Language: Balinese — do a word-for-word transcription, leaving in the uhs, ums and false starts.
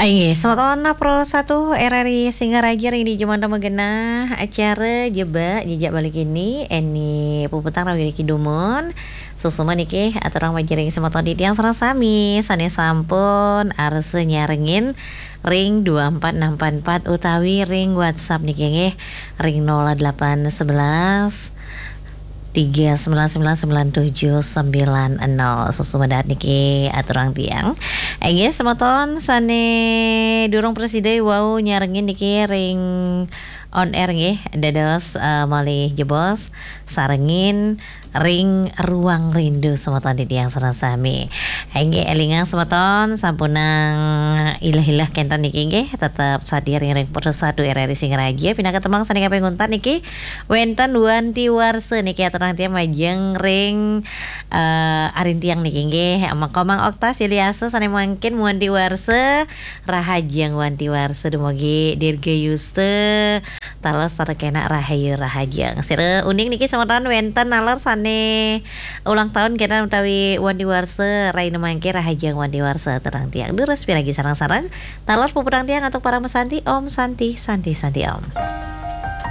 Inggih, semeton Pro satu R R I Singaraja ring dija manten magenah acara Jebak Jejak Bali Kini, Eni Puputang ring Widi Kidumon. Suksma niki aturang majeng ring semeton titiang sareng sami sane sampun arsa nyarengin ring dua empat enam empat empat utawi ring WhatsApp niki nggih ring nol delapan sebelas tiga sembilan sembilan sembilan tujuh sembilan nol. Suksma dahat niki aturang tiang. Inggih, semeton sane durung prasida wau nyarengin niki ring on air nggih, dados, eh, malih jebos sarengin ring Ruang Rindu semeton titiang sareng sami. Inggih, elingang semeton sampunang ilah-ilah kenten niki nggih, tetep sadia ring, ring Pro satu R R I Singaraja, pinaka tembang sane kaping untat niki wenten Wanti Warsa niki aturang tiang majeng ring, eh, arintiang niki nggih. Maka Mang Oktas Ilyasa sane mangkin Wanti Warsa, rahajeng Wanti Warsa, dumugi Dirga Yuste, taler sareng kenak rahayu rahajeng. Sira uning niki semeton wenten naler sane ulang tahun kenten utawi Wanti Warsa, rahina mangkin rahajeng Wanti Warsa aturang tiang. Durus piragi sareng-sareng, taler puputang tiang antuk Parama Santi, Om Santi, Santi, Santi Om.